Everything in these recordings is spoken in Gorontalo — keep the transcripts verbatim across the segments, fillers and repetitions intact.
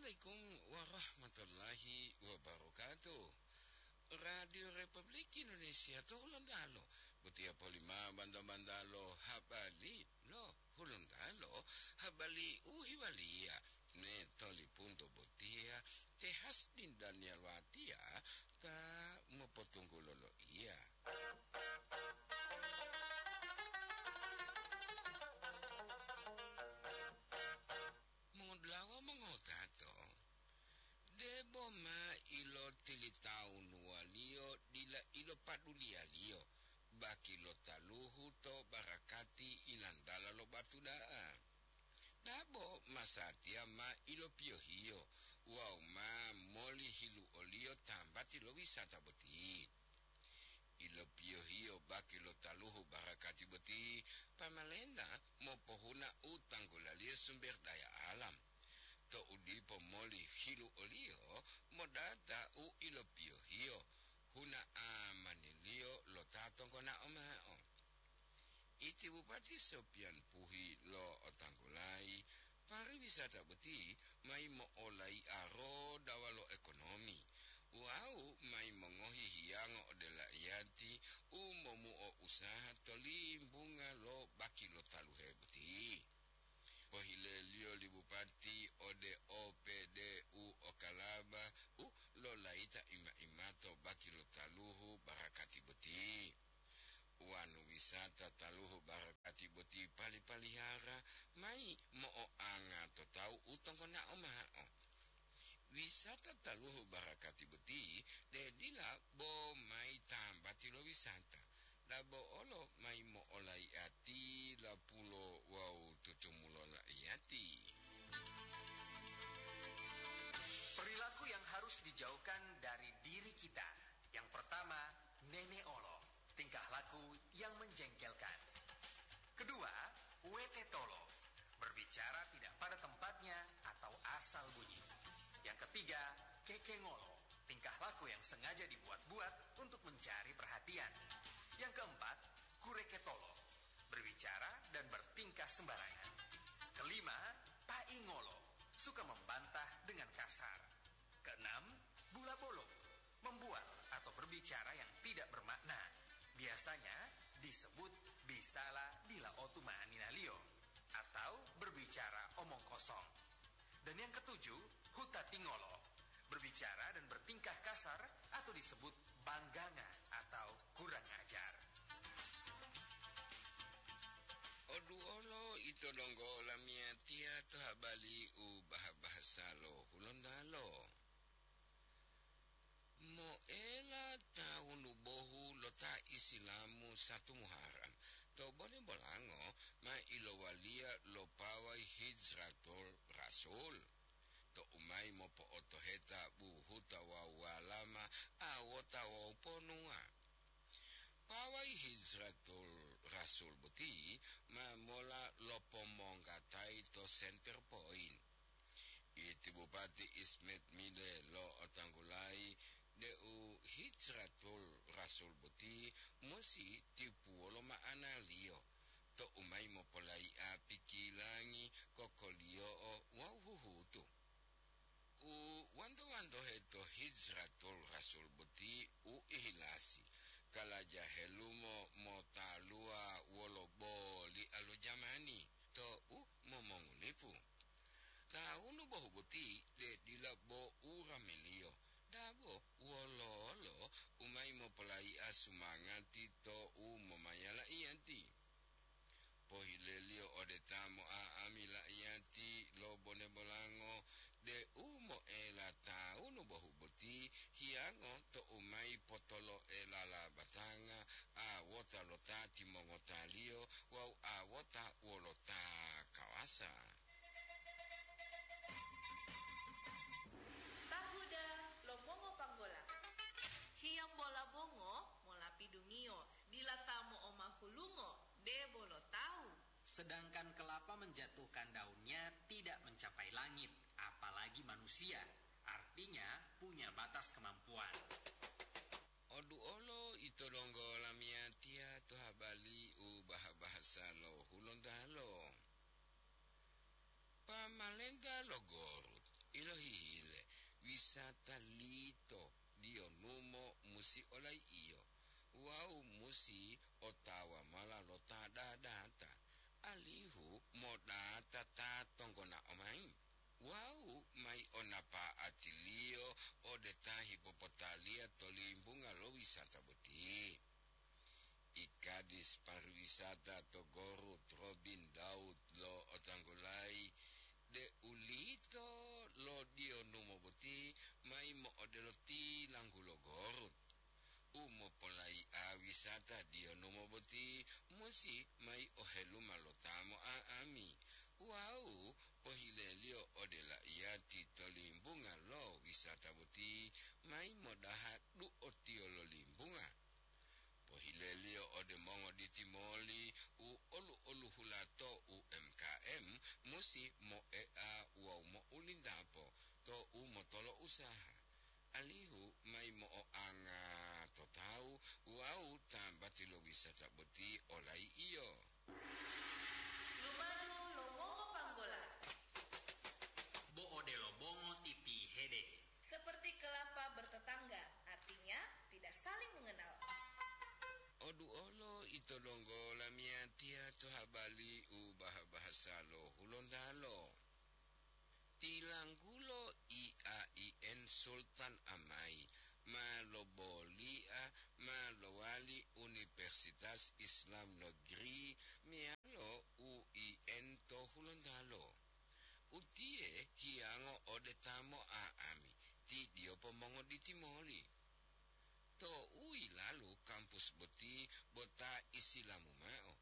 Assalamualaikum warahmatullahi wabarakatuh. Radio Republik Indonesia to Hulontalo, botiya polima banta-banta lo habari lo Hulontalo, habari u hewaliya me tolipunto botiya te Hasdin Daniel Watiya ta mopotunggulo loiya. Mongodula'a wawu mongotato, debo ma ilotilitawunuwaliyo dila ilopaduliyaliyo baki lo taluhu to barakati ilantala lo batu da'a. Dabo masatiya ma ilopiyohiyo wawu ma moli hiluoliyo tambati lo wisata boti. Ilopiyohiyo baki lo taluhu barakati boti, pamalenta mopohuna u tanggulaliyo sumber daya alam. To'u dipo moli hiluoliyo modata u ilopiyohiyo, huna amaniliyo lo ta tonggonao mao. Iti Bupati Sopian Puhi lo'otanggulayi, pariwisata boti mayi mo'olai'a rodawa lo ekonomi wawu mayi mongohi hiyango ode la'iyati u momuo usaha to limbunga lo baki lo taluhe boti. Pohileliyo li Bupati ode O P D U Okalaba u lolayita ima-imato baki lo taluhu barakati boti. Wonu wisata taluhu barakati boti pali-palihara mayi mo'oanga to tawu u tonggonao mao. Wisata taluhu barakati boti de dila bo mayi tambati lo wisata, dabo olo mayi mo'olai'ati lapulo wawu tutumulo la'iyati. Perilaku yang harus dijauhkan dari diri kita. Yang pertama, nene'olo, tingkah laku yang menjengkelkan. Kedua, wetetolo, berbicara tidak pada tempatnya atau asal bunyi. Yang ketiga, kekengolo, tingkah laku yang sengaja dibuat-buat untuk mencari perhatian. Yang keempat, kureketolo, berbicara dan bertingkah sembarangan. Kelima, paingolo, suka membantah dengan kasar. Keenam, bula bolong, membuat atau berbicara yang tidak bermakna. Biasanya disebut bisala dila otu ma'aninaliyo atau berbicara omong kosong. Dan yang ketujuh, hutatingolo, berbicara dan bertingkah kasar atau disebut bangganga atau kurang ajar. Oduolo ito donggo lamiyatiya to habali u baha-bahasa lo Hulontalo. Moela tawunu bohu lo ta Isilamu satu Muharram, to bole bolango ma ilowaliya lo pawai Hijratul Rasul, to umayi mopo'otoheta buhuta wawu walama, awota wawu ponuwa. Pawai Hijratul Rasul boti ma mola lopomonggatayi to Center Point. Iti Bupati Ismet Mile lo'otanggulayi deu Hijratul Rasul boti musi tipuwolo ma'analiyo, to umayi mopolayi'a pikilangi, kokoliyo'o wawu huhutu. U wanto-wantohe to Hijratul Rasul boti u ihilasi, kalaja helumo motaluwa wolo boli'a lo jamani to u momongulipu. Tawunu bohu boti de dila bo uramiliyo, dabo wololo u mayi mopolayi'a sumangati to u momayala iyanti. Pohileliyo ode ta mo'a'ami la'iyati lo bone bolango deu moela tawunu bohu boti hiyango to u mayi potolo'e lala batanga, awota lo ta timongotaliyo wawu awota wolo ta kawasa. Tahuda lo mongopanggola. Hiyambola bongo mola pidungiyo, dila ta mo'omahulungo debo lo tawu. Sedangkan kelapa menjatuhkan daunnya tidak mencapai langit, apalagi manusia, artinya punya batas kemampuan. Oduolo ito donggo lamiyatiya to habali u baha-bahasa lo Hulontalo. Pamalenta lo Gorut, Ilohihile, wisata lito diyonumo musi olai'iyo wawu musi otawa mola lo ta dadata, alihu modata ta tonggonao mayi wawu mayi o napa'atiliyo ode ta hipopotaliya to limbunga lo wisata boti. Ikadis pariwisata to Gorut Robin Daud lo otanggulayi, de'ulito lo diyonumo boti mayi mo'odelo tilanggulo Gorut. U mopolai'a wisata diyonumo boti musi mayi oheluma lo ta mo'a'ami wawu pohileliyo ode la'iyati to limbunga lo wisata boti mayi modaha du'otiyo lo limbunga. Pohileliyo ode mongoditi moli u olu-oluhula to U M K M musi moe'a wawu mo'ulindapo to u motolo usaha, alihu mayi mo'oanga to tawu wawu tambati lo wisata boti olai'iyo. Lumadu lo mongo panggola. Bo odelo bongo titihede. Seperti kelapa bertetangga, artinya tidak saling mengenal. Oduolo ito donggo lamiyatiya to habali u baha-bahasa lo Hulontalo. Tilanggulo I A I N Sultan Amai ma loboli'a ma lowali Universitas Islam Negeri meyalo U I N to Hulontalo. Utiye hiyango ode ta mo'a'ami, ti diyopo mongoditi moli. Tou yilalu kampus boti bo ta isilamu mao,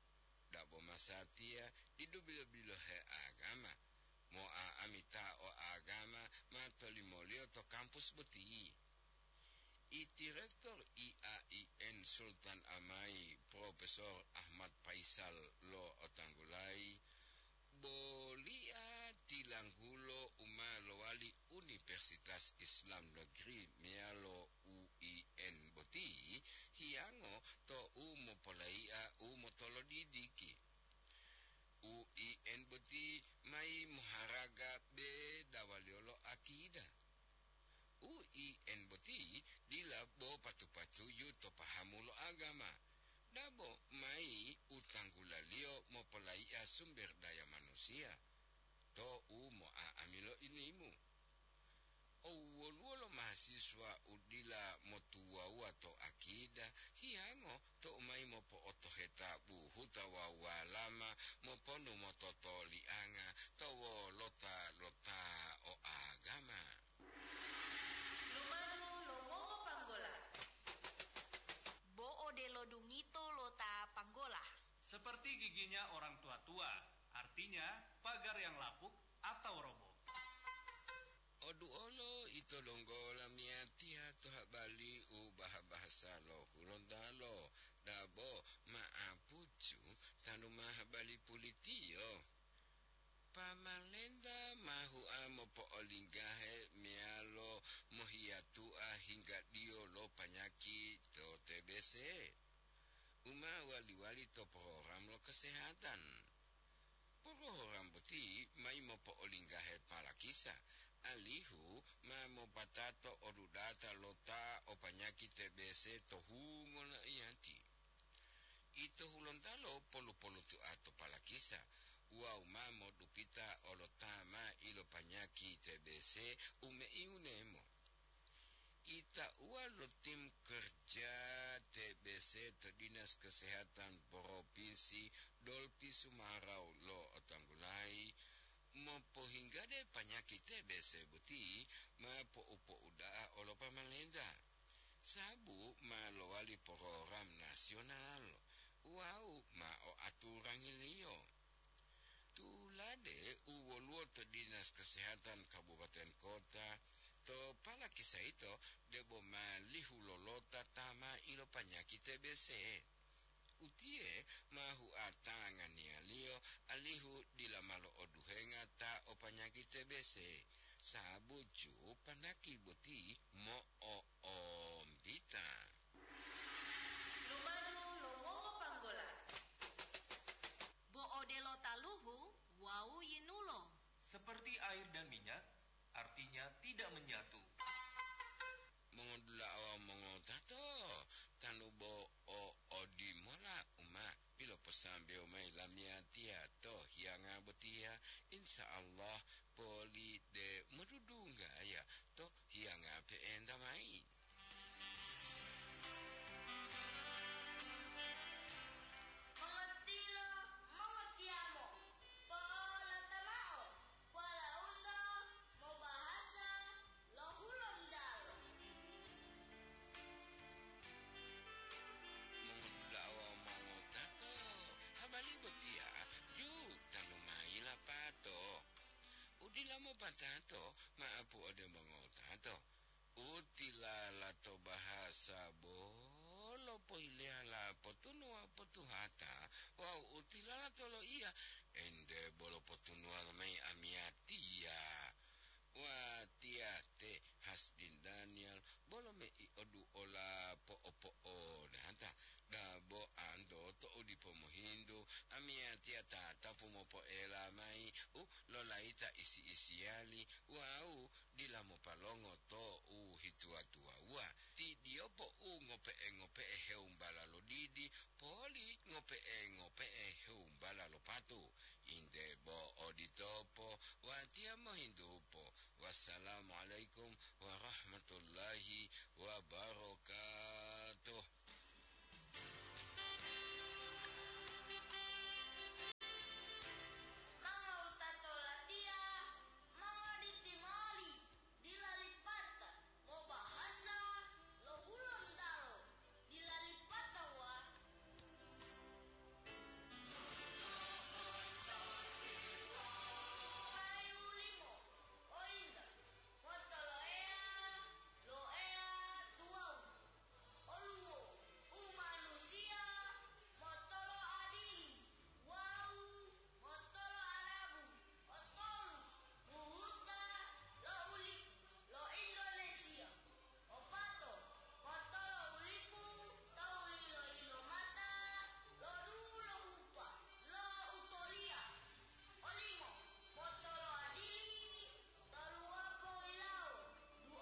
dabo masatiya didu bilo-bilohe agama, mo'a'ami ta o agama ma tolimoliyo to kampus boti. I Direktur I A I N Sultan Amai, Profesor Ahmad Faisal lo otanggulayi, boli'a tilanggulo u ma lowali Universitas Islam Negeri meyalo U I N boti hiyango to u mopolai'a u motolodidiki. U I N boti mayi moharaga bedawaliyo lo akida. U I N boti dila bo patu-patuju to pahamu lo agama, dabo mayi u tanggulaliyo mopolai'a sumber daya manusiya to u mo'a'ami lo ilimu. O woluwo lo mahasiswa u dila motuwawuwa to akida, hiyango tou mayi mopo'otoheta buhuta wawu walama moponu mototolianga to wolota lo ta o agama. Lumadu lo mongo panggola. Bo odelo dungito lo ta panggola. Seperti giginya orang tua-tua, artinya pagar yang lapuk atau roboh. Oduolo ito donggo lamiyatiya to habali u baha-bahasa lo Hulontalo, dabo ma'apucu tanu ma habali pulitiyo. Pamalenta ma hua mopo'olinggahe meyalo mohiyatu'a hinggadiyo lo panyaki to T B C, u ma wali-wali to program lo kesehatan. Program boti mayi mopo'olinggahe palakisa, alihu ma mopatato odudata lo ta o panyaki T B C to hungo lo iyati. Ito Hulontalo polu-polutua to palakisa wawu ma modupita olo ta ma ilopanyaki T B C u meiunemo. Itauwa lo tim kerja T B C to Dinas Kesehatan Provinsi Dolpi Sumarau lo otanggulayi, mopohinggade panyaki T B C boti ma po'u-po'uda'a olo pamalenta, sababu ma lowali program nasional wawu ma o aturangiliyo. Tulade u woluwo to Dinas Kesehatan Kabupaten Kota to palakisa yito debo ma lihu lolota ta ma ilopanyaki T B C. Utiye ma hua tanganiyaliyo alihu dila ma lo'oduhenga ta o panyaki T B C, sababu ju panyaki boti mo'oombita. Lumadu lo mongo panggola. Bo odelo taluhu wawu yinulo. Seperti air dan minyak, artinya menyatu. Mongodula'a wawu mongotato, tanu bo o odimola u ma piloposambewo mayi lamiyatiya to hiyanga botiya, insya Allah poli de modudunggaya to hiyanga pe'enta mayi. Mongotilo, mongotiyamo, po'olata mao, walaundo mobahasa lo Hulontalo. Mongodula'a wawu mongotato, habari botiya ju tanu mayi lapato. U dila mopatato, ma'apu ode mongotato. U tilala to bahasa bolo pohileyala potunuwa potuhata, wawu u tilala to loiya, ente bolo potunuwa mayi amiyatiya. Watiya te Hasdin Daniel bolo mei oduola po'opo'odata, dabo anto to'u dipo mohintu, amiyatiya tatapu mopo'ela mayi u lolayita isi-isiyali wawu dila mopalongo to u hituwa-tuwawuwa. Ti diyopo u ngope'e-ngope'e hewumbala lo didi, poli ngope'e-ngope'e hewumbala lo patu. Inde bo oditopo, watiya mohintupo. Wassalamualaikum warahmatullahi wabarakatuh.